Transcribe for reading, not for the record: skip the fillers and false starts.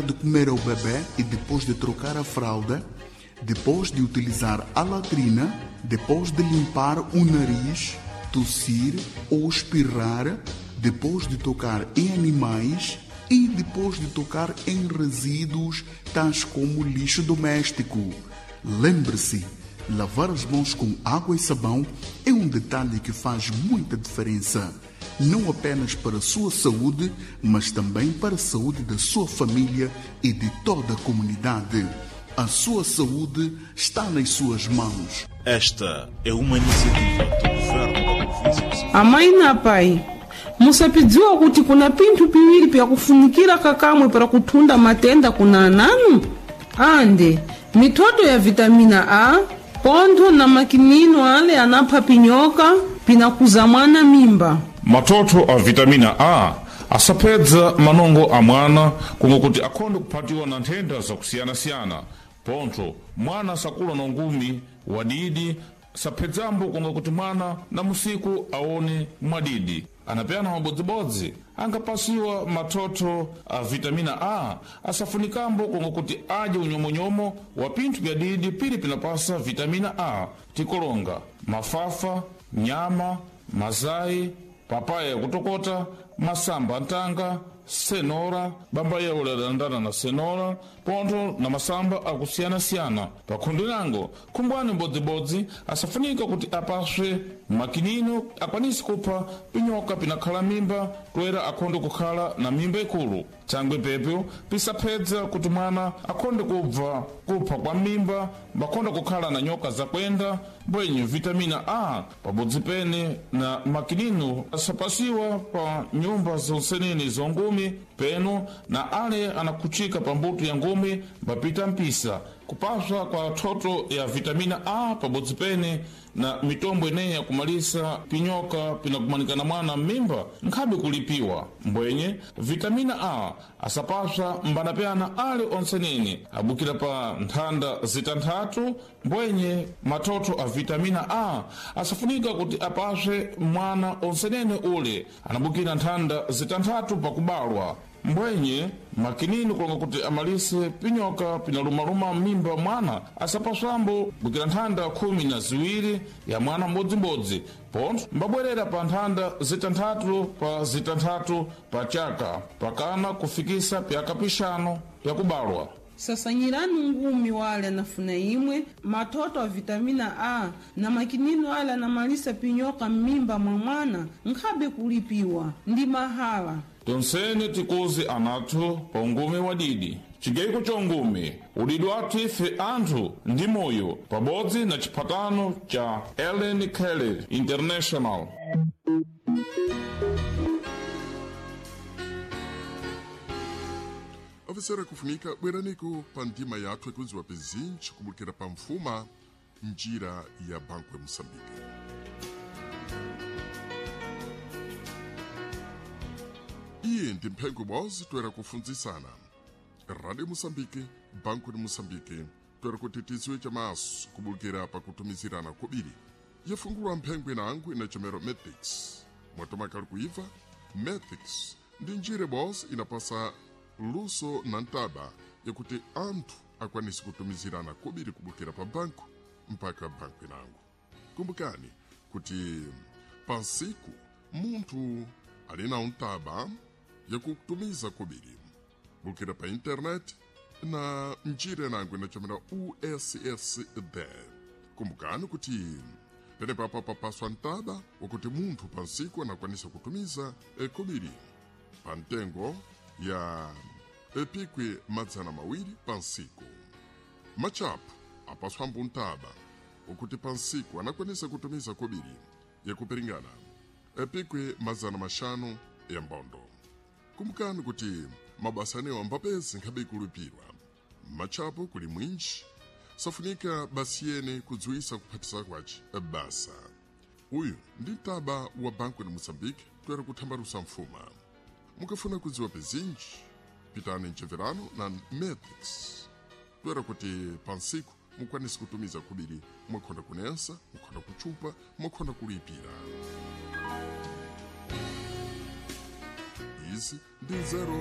De comer ao bebê e depois de trocar a fralda, depois de utilizar a latrina, depois de limpar o nariz, tossir ou espirrar, depois de tocar em animais e depois de tocar em resíduos tais como lixo doméstico. Lembre-se, lavar as mãos com água e sabão é um detalhe que faz muita diferença, não apenas para a sua saúde, mas também para a saúde da sua família e de toda a comunidade. A sua saúde está nas suas mãos. Esta é uma iniciativa do governo da província de Sofala. Amayi na pai, musapidziwa kuti kuna pinthu piwiri pyakufunikira kakamwe para kuthunda matenda kuna ananu? Ande mithoto ya vitamina A, pontho na makinino ale anapha pinyoka pinakuza mwana mimba. Matoto a vitamina A asapedza manongo a mwana kungo kuti akhonde kuphatiwa na nthenda zakusiyanasiyana. Pontho mwana sakula na ngumi wadidi, saphedzambo kunga kuti mwana na musiku aone mwadidi. Anapeyana mabodzibodzi angapasiwa matoto a vitamina A asafunikambo kunga kuti adye unyomonyomo wa pinthu bya didi pili pinapasa vitamina A, tikolonga mafafa, nyama, mazayi, papaya yakutokota, masamba ntanga, senora, bamba yaule adandana na senora, pontho na masamba akusiyanasiyana. Pakhundu nango khumbwani mbodzibodzi asafunika kuti apaswe makinino akwanise kupha pinyoka pinakhala mimba toera akhonde kukhala na mimba ikulu. Thangwi pepyo pisaphedza kuti mwana akhonde kubva kupha kwa mimba, mbakhonde kukhala na nyoka zakwenda, mbwenyu vitamina A pabodzi pene na makinino asapasiwa pa nyumba zonsenene zongumi peno na ale anakhuchika pa mbuto ya ngumi mbapita mpisa. Kupaswa kwa thoto ya vitamina A pabodzi pene na mitombo ineyi yakumalisa pinyoka pinakumanikana mwana m'mimba nkhabe kulipiwa. Mbwenye vitamina A asapaswa mbanapyana ale onsenene abukira pa nthanda zitanthatu. Mbwenye matoto a vitamina A asafunika kuti apaswe mwana onsenene ule anabukira nthanda zitanthatu pakubalwa. Mbwenye makinini kulonga kuti amalise pinyoka pinalumaluma m'mimba mwana asapaswambo bukira nthanda 12 ya mwana mbodzimbodzi, pontho mbabwerera pa nthanda zitanthatu pa zitanthatu pa chaka pakana kufikisa pyaka pixanu pyakubalwa. Sasanyirani ngumi wale anafuna imwe matoto a vitamina A na makinino ale anamalisa pinyoka m'mimba mwa mwana nkhabe kulipiwa ndi mahala. Tonsene tikuzi anathu pa ungumi wadidi. Chigeiko cha ungumi udidi wathu ife anthu ndi moyo pabodzi na chiphatano cha Ellen Kelly International. Ofisera kufunika bweraniko pa ndima yathu ikudziwa pezinji kubukira pa mfuma njira ya Banco ya Moçambique. Iye ndi mphengo ibodzi toera kufunzisana. Radio Moçambique, Banco de Moçambique, toera kuti tidziwe chamaso kubukira pakutumizirana kobiri. Yafungulwa mphengo inango inachomero Matrix. Mwatomakali kuiva, Matrix ndi njira ibodzi inapasa luso na ntaba yakuti anthu akwanise kutumizirana kobiri kubukira pa banku mpaka banku inango. Kumbukani kuti pansiku munthu ali na untaba yakutumiza kobiri bukira pa internet na njira inango inachomera USSD. Kumbukani kuti penepapo papaswa ntaba wakuti munthu pansiku anakwanisa kutumiza kobiri pa mtengo ya epikwi 200 pansiku. Machapu apaswambo ntaba ukuti pansiku anakwanisa kutumiza kobiri yakupiringana epikwi 500 ya mbondo. Kumbukani kuti mabasa anewo ambapezi nkhabe ikulipirwa. Machapu kuli mwinji safunika basi yene kudziwisa kuphatisa kwace basa. Uyu ndi mtaba wa Banco de Moçambique toera kuthambalusa mfuma. Mukafuna kudziwa pezinji pitani mcheverano na Matrix toera kuti pansiku mukwanise kutumiza kubiri mwakhonda kunensa, mwakhonda kuchupa, mwakhonda kulipira. Izi ndi nzeru.